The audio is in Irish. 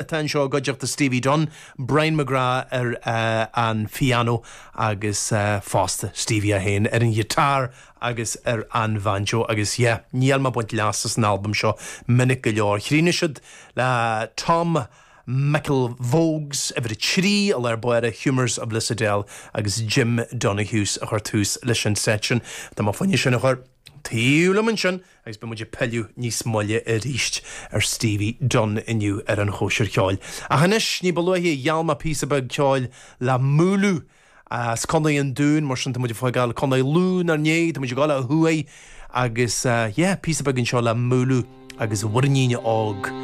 Atá anseo i gcuideachta Stevie Dunne, Brian McGrath ar an phiano agus fosta Stevie é féin ar an ghiotár agus ar an bhanjo agus yeah, níl mé ag baint leas as an albam seo minic go leor. Chríochnaigh siad le Tom McElvogue's uimhir a 3 i lár báire, Humours of Lissadell agus Jim Donohue's a chuir tús leis an seit sin. Tá mé fá choinne sin a chur taobh liom ansin agus beidh muid ag pilleadh níos moille arís ar Stevie Dunne inniu ar an Chóisir Cheoil. Ach anois, ní ba luaithe, gheall mé píosa beag ceoil le Mooloo as Contae an Dúin, mar sin tá muid ag fágáil Contae Lú inár ndiaidh, tá muid ag dul ó thuaidh agus yeah, píosa beag anseo le Mooloo agus Mhuirnín Óg.